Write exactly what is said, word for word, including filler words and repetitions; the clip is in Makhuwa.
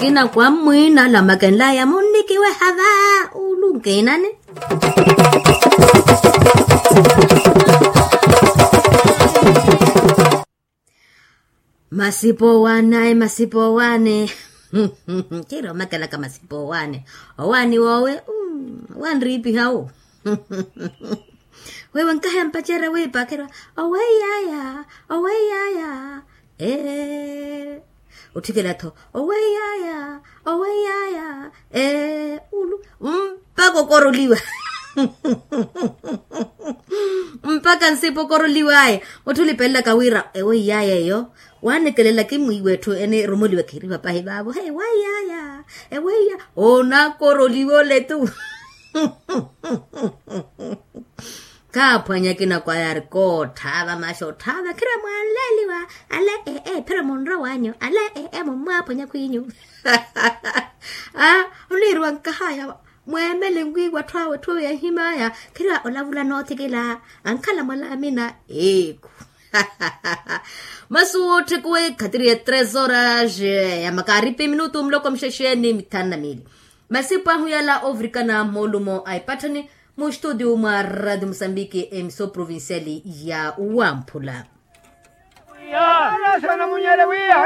Kina kwa mmwina lamakenlaya munnikiwe hava. Ulunkenani. Masipo owaani ayi masipo owaani. Kiri omakelaka masipo owaani. Owaani wowe. Wanriipiha wu. Wewe nkahaya mpacerya wiipa khirwa. Oweiyaya. Oweiyaya. Ee. Otthikela-tho oweiyaya. Oweiyaya. Ee ulu. Mpaka okoroliwa. Mpaka nsipa okoroliwaya. Otthu olipelelaka wira eweiyaya eyo. Waanikelela kimwiiwa etthu enirumoliwa khiriwa pahi vaavo he eweiyaya. Eweiyaya. Onakoroliwa ole tu. Kaaphwanya akina kwaya ari kootthava maxa otthaava khira mwanleeliwa. Ale ee phira munrowanyu ale ee mummwaphwanya khwinyu. Aa oniiriwa nkahaya. Mweemele nwiiwa atthu awe atthu awe yahimaya khira olavula noothikila. Ankhala mwalaamina. Eekhu. Masu wootthe kuwe khatiri ya tres horas ya makaaripi minutu muloko muxexeni mithanu na miili. Masipu ahu yala ovirikana moolumo a epatthani. Mu studio mwa radio musambiki emiso provinciali ya wamphula.